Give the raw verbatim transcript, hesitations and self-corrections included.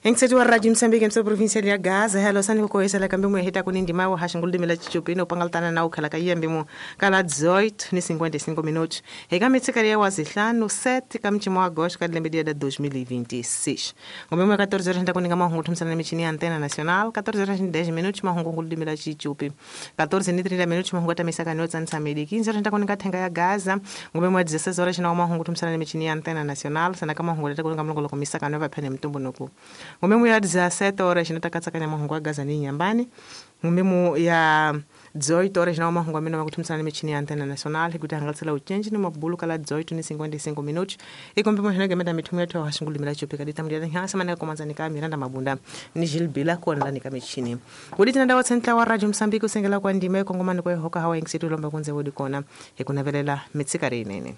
Engisethi wa Radio Mozambique mse provincia ya Gaza hello sani ko koyesela kambe mu heta kuni ndima wa hashingulu dimela chichupino pangaltana na ukhala ka yembe mu kala dezoito ni cinquenta e cinco minutos eka mitsikari ya wazihlanu sete ka mchimo wa agosto ka lembe dia da dois mil e vinte e seis ngombe mu catorze horas nda kuninga mahungu thumsana na michini ya antena nacional catorze horas e dez minutos mahungu ngulu dimela chichupi catorze e trinta minutos mahungu atamisa kanotsa nsamedi quinze horas nda kuninga thenga ya Gaza ngombe mu dezesseis horas na mahungu thumsana na michini ya antena nacional sana ka mahungu leta kuninga mlongolo komisa kanova phene mtumbu noku ngombe ya dezessete horas natakatsakanya mahungu a Gaza ni nyambani ngombe ya dezoito horas na mahungu amene makuthumsana michini ya antena nacional kuti hangatsela uchenji ni mabulu kala dezoito ni cinquenta e cinco minutos ikombe mohena gemeda mithumu yathu hashingulu chupika ditamulira nhasa mana komanza nika Miranda Mabunda ni Gilbila kuonela nika michini kudi tinanda wa tsentla wa Radio Mozambique usengela kwa ndima ikongomani kwa hoka hawa ingisitu lomba kunze wodi kona ikunavelela mitsikari inene.